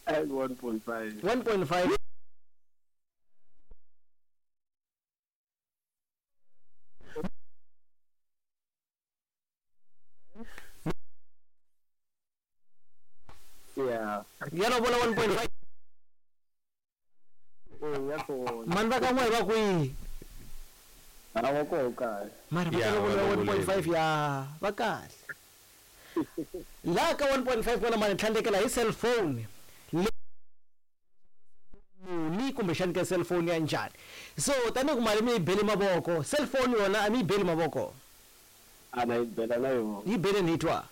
1.5. 1.5. Yeah. Ya lovola 1.5. Eh, ya kona. Mani va ka n'we va kwihi? A va koho kahle. Mara va Ya, ta va lovola lovoleni. 1.5 ya va kahle. Laha ka 1.5 kona mani tlhandlekela hi cellphone muni kumbexani ka cellphone ya njhani. So tanihi ku mali mi yi beli mavoko, cellphone yona a mi yi beli mavoko. A na yi bela na yona. Yi beleni hi twa.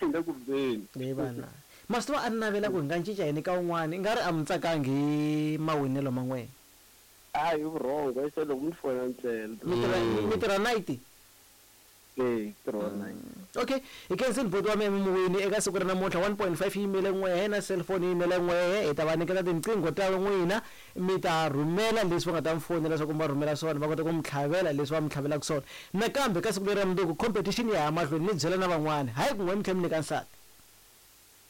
Le ku beni. Leyi vana masiku a ni navela ku hi nga cinca yini ka un'wana i nga ri a mi tsakangi hi mawinelo man'we. A hi vurhongo se loko mi fona ntsena. Mi tirha night. Eh, tirha night. Okay, hi khensini buti wa mina muwini eka siku ra namuntlha 1.5 yi yimele n'wehe na cellphone yi yimele n'wehe. Hi ta va nyiketa tinqingho ta n'wina, mi ta rhumela leswi va nga ta mi fonela leswaku mi va rhumela swona, va kota ku mi tlhavela leswi va mi tlhavelaka swona. Nakambe ka siku leri ra mundzuku competition ya ya mahlweni, mi byela na van'wana, hayi ku n'we mi tlhela mi nyika nsati.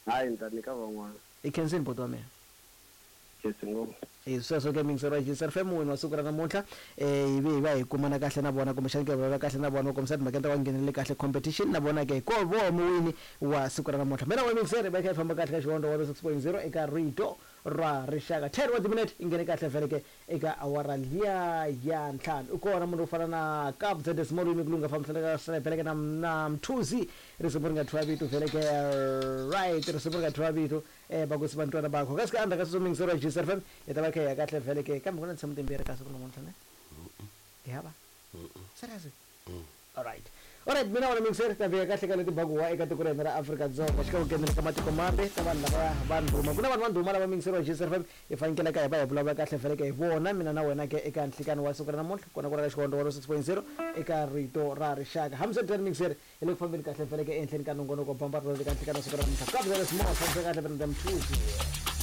Hayi ni ta nyika van'wana. Hi khensini buti wa mina. Khensi ngopfu. Hi sweswo ke miyingiseri wa Gcr FM muwini wa siku ra namuntlha, hi ve hi va hi kumana kahle na vona kumbexani ke vulavula kahle na vona va kombisa timhaka ta va nghenelele kahle competition na vona ke ko vo muwini wa siku ra namuntlha. Mina wa miyingiseri va kha hi famba kahle ka Xihondzo 106.0 eka Rito ra Rixaka. 10 wa timinete yi nghene kahle vhele ke eka awara liya ya ntlhanu. U kona munhu wo fana na Kabza De Small Yimi Kulunga fambisana ka vhele ke na Mthuzi risimu ri nga thyiwa vito vhele ke right risimu ri nga thyiwa vito vakosi va ntwana bakho kasi ka endzhaku ka sweswo miyingiseri wa Gcr FM hi ta va kha hi ya kahle vhele ke kambe ku na tinsimu timbirhi ka siku namuntlha ne hi hava serious. Alright, alright, mina wona miyingiseri ta fika kahle ka leti bakuwa eka tiko ra hina ra Afrika-Dzonga xikan'we ku nghenela ka matiko mambe ka vanhu lava va ndhuma. Ku na vanhu va ndhuma lava miyingiseri wa Gcr FM hi fanekele ka hi va hi vulavula kahle vhele ke hi vona mina na wena ke eka nhlikani wa siku ra namuntlha kona ku ri ka Xihondzo 106.0 eka Rito ra Rixaka. Hambiswiritano miyingiseri hi le ku fambeni kahle vhele ke ehenhleni ka nongonoko bamba rero eka nhlikani wa siku ra namuntlha. Kabza De Small fambisa kahle vhele na Mthuzi.